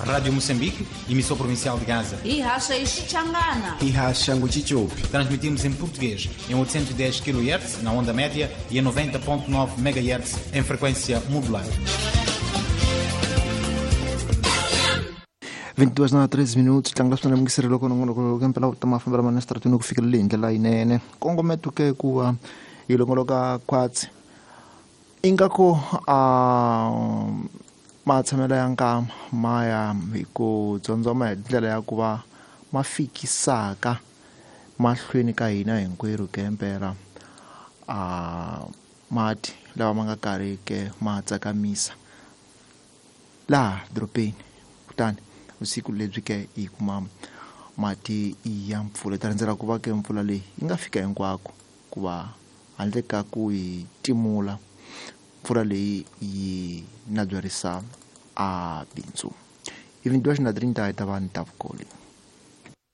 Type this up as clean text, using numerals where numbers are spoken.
Rádio Moçambique, emissão provincial de Gaza. Ihasha Ixichangana. Ihasha Nguchichopi. Transmitimos em português em 810 kHz na onda média e em 90.9 MHz em frequência modulada. 22 na 13 minutos tlanga swi lemukisile loko nongonoko ke mpela ku ta mafambelo ma nestratini ku fikelela hi ndlela yinene kongometo ke ku va yi longoloka khwatsi ingaku a matshamelo ya nkama ma ya hi ku dzondzoma hi ndlela ya ku va ma fikisaka mahlweni ka hina hinkwerhu ke mpela a mati lawa ma nga karhi ke ma tsakamisa laha dorobeni kutani vusiku lebyi ke hi kuma mati ya mpfula hi ta rindzela ku va ke mpfula leyi yi nga fika hinkwako ku va handle ka ku yi timula mpfula leyi yi nabyarisa a bindzu. 22 na 30 hi ta va ni ta vukoli.